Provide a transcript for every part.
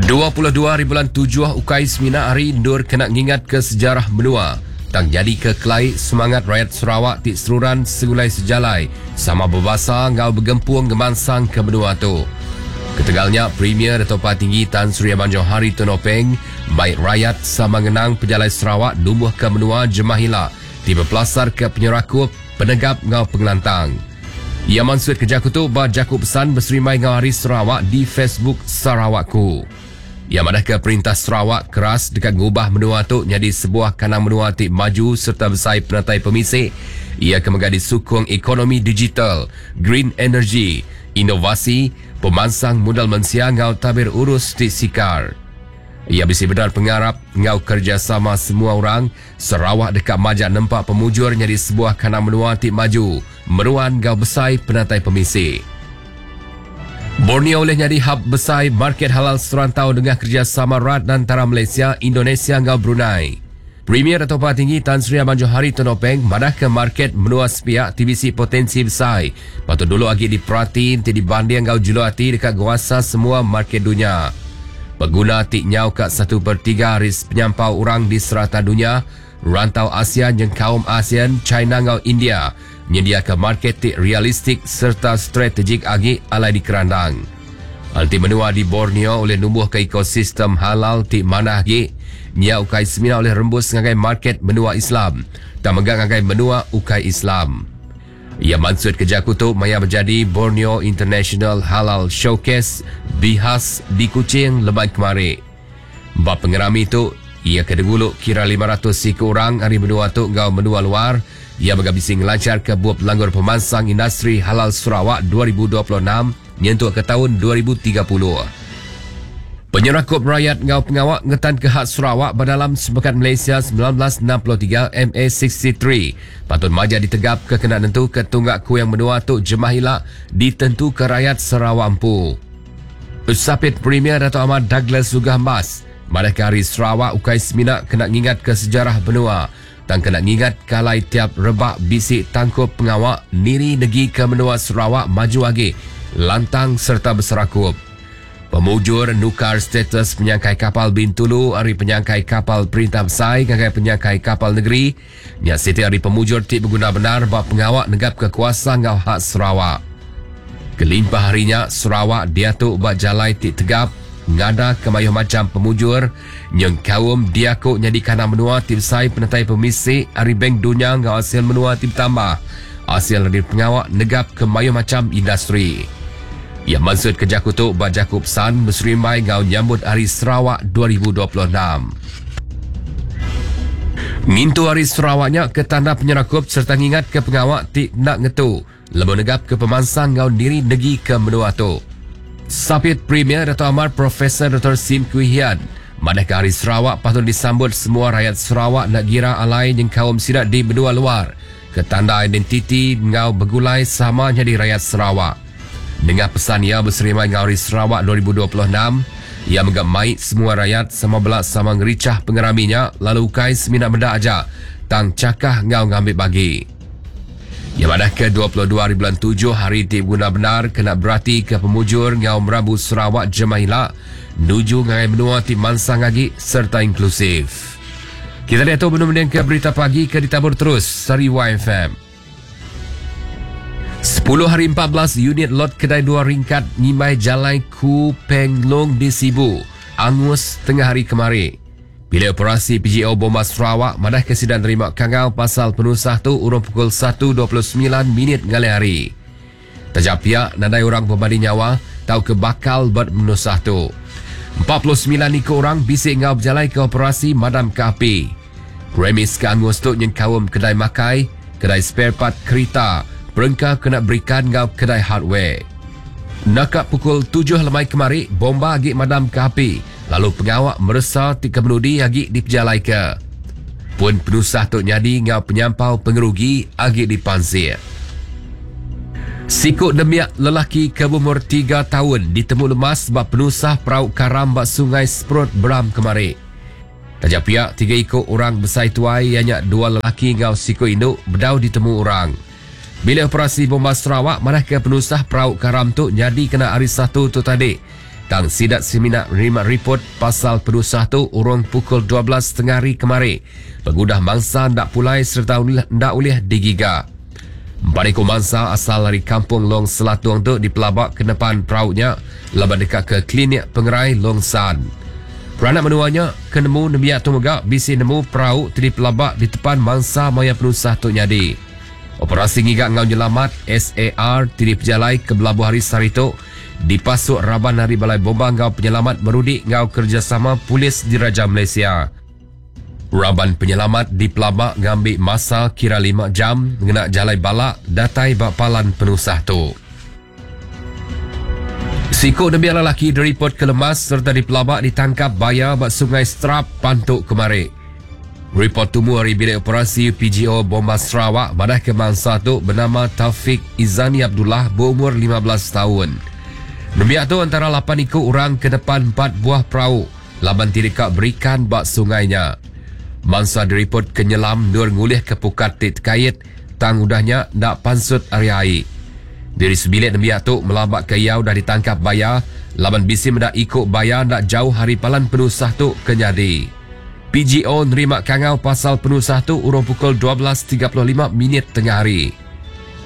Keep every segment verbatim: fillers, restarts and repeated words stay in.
dua puluh dua hari bulan tujuh ukai semina hari ndur kena ngingat ke sejarah menua. Tang jadi ke kelai semangat rakyat Sarawak ti seruran segulai sejalai sama berbahasa ngau bergempung ngemansang ke menua tu. Ketegalnya Premier Dato' Patinggi Tan Sri Abang Johari Tun Openg baik rakyat sama ngenang pejalai Sarawak numbuh ke menua Jemahila ti berpelasar ke penyerakup, penegap ngau pengelantang. Ia maksud kerja kutu ba jaku pesan berserimai ngau Hari Sarawak di Facebook Sarawakku. Ia madah ke Perintah Sarawak keras dekat ngubah menua tu jadi sebuah kanang menua ti maju serta besai penatai pemisik. Ia kemega disukung ekonomi digital, green energy, inovasi, pemansang modal mensia ngau tabir urus ti sikar. Ia bisi benar pengarap ngau kerjasama semua orang, Sarawak dekat majak nempak pemujur jadi sebuah kanang menua ti maju, meruan ngau besai penatai pemisik. Borneo oleh jadi hub besar market halal serantau dengan kerjasama rat antara Malaysia, Indonesia ngau Brunei. Premier Dato' Patinggi Tan Sri Abang Johari Tun Openg madah ke market menua sepiak T B C potensi besar. Patut dulu lagi diperhati ti dibanding ngau julu hati dekat guasa semua market dunia. Pengguna ti nyau kat satu per tiga ris penyampau orang di serata dunia, rantau Asia jeung kaum ASEAN, China ngau India menyediakan market ti realistik serta strategik agi alai dikerandang. Anti menua di Borneo oleh numbuh ke ekosistem halal ti manah agi, nya ukai semina oleh rembus ngagai market menua Islam, tak megang ngagai menua ukai Islam. Ia maksud kerja kutu maya menjadi Borneo International Halal Showcase Bihas di Kuching lebat kemari. Bab pengerami tu, ia kedeguluk kira lima ratus siku orang hari menua tu ngau menua luar. Ia bergabisi ngelancar ke buah pelanggur pemansang industri halal Sarawak dua ribu dua puluh enam nyentuh ke tahun dua ribu tiga puluh. Penyerakup rakyat ngau pengawak ngetan ke hak Sarawak berdalam Sepekan Malaysia sembilan belas enam puluh tiga M A enam puluh tiga. Patut maja ditegap ke kena nentu ke tunggak ku yang menua tu jemah hilak ditentu ke rakyat Sarawak empu. Usapit Premier Dato' Ahmad Douglas Uggah Embas, madah ke hari Sarawak ukai semina kena ngingat ke sejarah benua. Tang kena ngingat kalai tiap rebak bisik tangkup pengawak niri negi ke menua Sarawak maju agi, lantang serta berserakup. Pemujur nukar status penyangkai kapal Bintulu hari penyangkai kapal Perintah Besai ngagai penyangkai kapal negeri. Nya siti hari pemujur ti berguna benar bab pengawak negap kekuasaan ngau hak Sarawak. Kelimpah harinya Sarawak diatuk bak jalai ti tegap ngada kemayuh macam pemujur nyeng kaum diakuk nyadi kanang menua ti besai penetai pemisik hari Bank Dunia ngau hasil menua ti bertambah. Hasil dari pengawak negap kemayuh macam industri. Ia maksud kerja kutuk bak jakub pesan berserimbai ngau nyambut Hari Sarawak dua ribu dua puluh enam. Ngintu Hari Sarawaknya ke tanda penyerakup serta ngingat ke pengawak ti nak ngetu lebuh negap ke pemansang ngau niri negi ke menua tu. Sapit Premier Dato' Amar Profesor Doktor Sim Kui Hian madah ke Hari Sarawak patut disambut semua rakyat Sarawak nak gira alai yang kaum sirat di benua luar ke tanda identiti ngau bergulai sama jadi rakyat Sarawak. Dengan pesan ia berserimai ngau Hari Sarawak dua ribu dua puluh enam, ia menggap maik semua rakyat sama belak sama ngericah pengeraminya lalu ukai semina benda aja tang cakah ngau ngambil bagi. Ia madah ke dua puluh dua hari bulan tujuh hari ti guna benar kena berarti ke pemujur ngau merabu Sarawak Jemahila nuju ngai menua ti mansang agi serta inklusif. Kita lihat tu benda-benda ke berita pagi ke ditabur terus Sari Y F M. Sepuluh hari empat belas unit lot kedai dua ringkat nyimai jalai Ku Peng Long di Sibu angus tengah hari kemari. Bila operasi P G O Bomba Sarawak madah kesidan terima kangal pasal penusah tu urung pukul satu dua puluh sembilan minit ngalih hari. Tajak pihak nadai orang berbanding nyawa tau ke bakal buat penusah tu. Empat puluh sembilan ikut orang bisik ngau berjalai ke operasi madam ke api. Premis ke angus tu yang kaum kedai makai, kedai spare part kereta, perengka kena berikan ngau kedai hardware. Nakak pukul tujuh lemai kemari, bomba agi madam ke api. Lalu pengawak meresa ti kemenudi agi dipejalai ke. Pun penusah tu nyadi ngau penyampau pengerugi agi dipansir. Sikut demiak lelaki ke berumur tiga tahun ditemu lemas sebab penusah perahu karam bak Sungai Seprot Beram kemari. Tajak pihak tiga ikut orang besai tuai ianya dua lelaki ngau sikut induk bedau ditemu orang. Bila operasi bomba Sarawak madah ke penusah perahu karam tu nyadi kena hari Satu tu tadi. Tang sidak semina nerima report pasal penusah tu urung pukul dua belas tengah hari kemari. Pengudah mangsa ndak pulai serta ndak ulih digiga. Empat ekor mangsa asal dari Kampung Long Selatung tu dipelabak ke depan perahunya laban dekat ke klinik pengerai Long San. Peranak menuanya kenemu nembiak tu mega bisi nemu perahu tu dipelabak di depan mangsa maya penusah tu nyadi. Operasi ngigak ngau nyelamat S A R ti dipejalai ke belabuh hari sehari tu dipasuk raban hari Balai Bomba ngau penyelamat merudik ngau kerjasama Polis Diraja Malaysia. Raban penyelamat dipelabak ngambil masa kira lima jam ngena jalai balak datai bak palan penusah tu. Sikuk nembiak lelaki diripot ke lemas serta dipelabak ditangkap baya bak Sungai Strap Pantuk kemari. Report tumu hari bilik operasi P G O Bomba Sarawak madah ke mangsa tu bernama Taufik Izani Abdullah berumur lima belas tahun. Nembiak tu antara lapan ikut orang ke depan empat buah perahu laban tidak berikan bak sungainya. Mangsa diripot ke nyelam nur ngulih ke pukat tit kait tang udahnya ndak pansut area air. Diri sebilik nembiak tu melabak ke iau dah ditangkap baya laban bisi mendak ikut baya ndak jauh hari palan penusah tu kenyadi. P G O nerima kangau pasal penusah tu urung pukul dua belas tiga puluh lima minit tengah hari.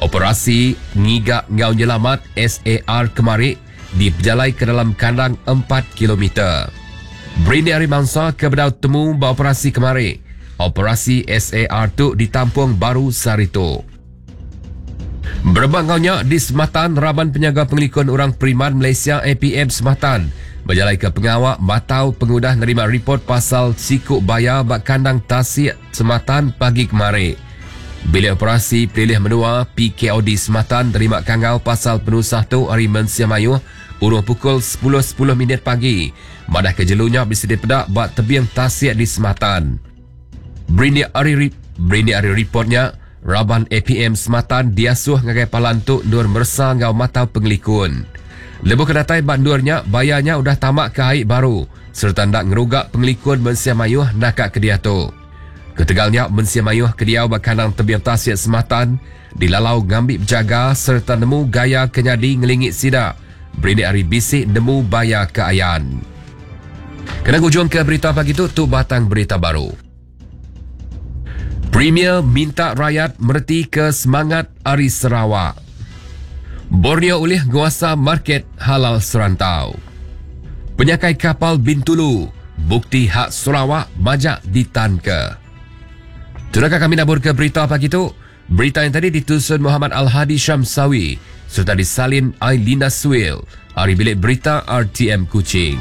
Operasi ngigak ngau nyelamat S A R kemari dipejalai ke dalam kandang empat kilometer. Berindik hari mangsa ke bedau temu beroperasi kemari. Operasi S A R tu ditampung baru sehari tu. Berbangaunya di Sematan, Raban Penyaga Pengelikun Orang Periman Malaysia A P M Sematan berjalai ke pengawak matau pengudah nerima report pasal sikuk bayar bak kandang tasik Sematan pagi kemari. Bilik operasi Pelilih Menua P K O D Sematan terima kangau pasal penusah tu hari Mensia Mayuh urung pukul sepuluh sepuluh minit pagi. Madah kejelunya bisa dipedak bak tebing tasik di Sematan. Berindik hari berindik hari reportnya, Raban A P M Sematan diasuh ngagai palan tu nur mersa ngau matau pengelikun. Lebuh kedatai bak nurnya, bayarnya udah tamak ke air baru serta ndak ngerugak pengelikun mensia mayuh nakak ke dia tu. Ketegalnya mensia mayuh ke dia bak kandang tebing tasik Sematan dilalau ngambil berjaga serta nemu gaya kenyadi ngelingit sidak. Berindik hari bisik nemu bayar ke ayan. Kena hujung ke berita pagi tu, tu batang berita baru. Premier minta rakyat merti ke semangat Ari Sarawak. Borneo ulih nguasa market halal serantau. Penyakai kapal Bintulu, bukti hak Sarawak majak ditanka. Tunakah kami nabur ke berita pagi tu? Berita yang tadi ditusun Muhammad Al-Hadi Syamsawi serta disalin Ailina Suil. Ari Bilik Berita R T M Kuching.